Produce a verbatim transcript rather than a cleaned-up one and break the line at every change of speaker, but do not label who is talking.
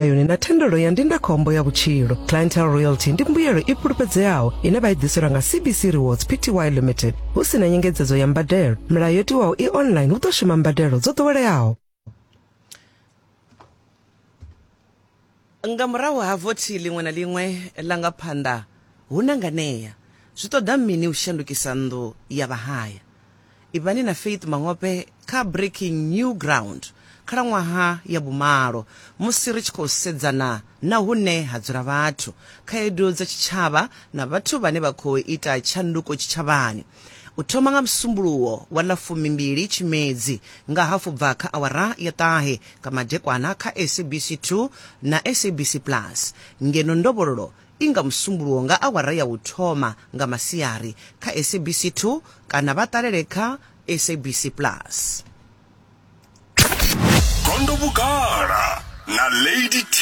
Yone na thendelo ya ndindakhombo ya vhutshilo. Clientele Royalty ndi mbuyelo i fhulufhedzeaho ine vha i ḓiselwa nga C B C Rewards P T Y Limited, hu si na nyengedzedzo ya mbadelo. Milayo yo tiwaho i online, hu ḓo shuma mbadelo dzo ḓoweleaho.
Nga murahu ha vothi ḽiṅwe na ḽiṅwe ḽa nga phanḓa hu na nganea. Zwi ṱoḓa mini u shandukisa nnḓu ya vhahaya? Ivhani na Faith Mangope kha Breaking New Ground khalaṅwaha ya vhumalo musi ri tshi khou sedzana na hune ha dzula vhathu, khaedu dza tshitshavha na vhathu vhane vha khou ita tshanduko tshitshavhani. U thoma nga Musumbuluwo wa ḽa fumimbili Tshimedzi nga hafu bva kha awara ya ṱahe nga madekwana kha S A B C two na S A B C Plus, ngeno ndovhololo i nga Musumbuluwo nga awara ya u thoma nga masiari kha S A B C two kana vha ṱalele kha S A B C Plus.
Gondo Vhugala na Lady T.